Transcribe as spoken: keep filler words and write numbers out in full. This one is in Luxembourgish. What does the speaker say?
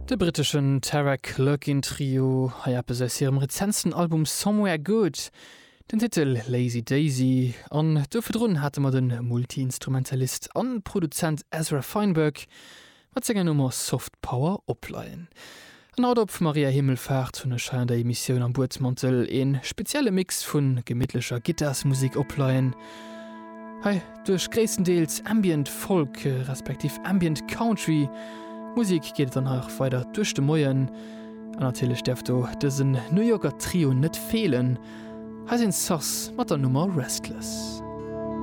De britteschen Tara Clerkin Trio, hei eppes aus hirem rezentsten Album Somewhere Good, den Titel Lazy Daisy. An do virdrun hate mer de Multi-Instrumentalist an Produzent Ezra Feinberg mat senger Nummer Soft Power opleien. An haut op Maria Himmelfahrt hunn ech hei an der Emissioun am Buedmantel een spezielle Mix vun gemittlecher Gittarsmusik opleien. Hei duerch gréisstendeels Ambient Folk respektiv Ambient Country Musik geet et dann hei och weider duerch de Moien. An natierlech däerf do dësen New Yorker Trio net feelen. Hei sinn Sass mat der Nummer Restless.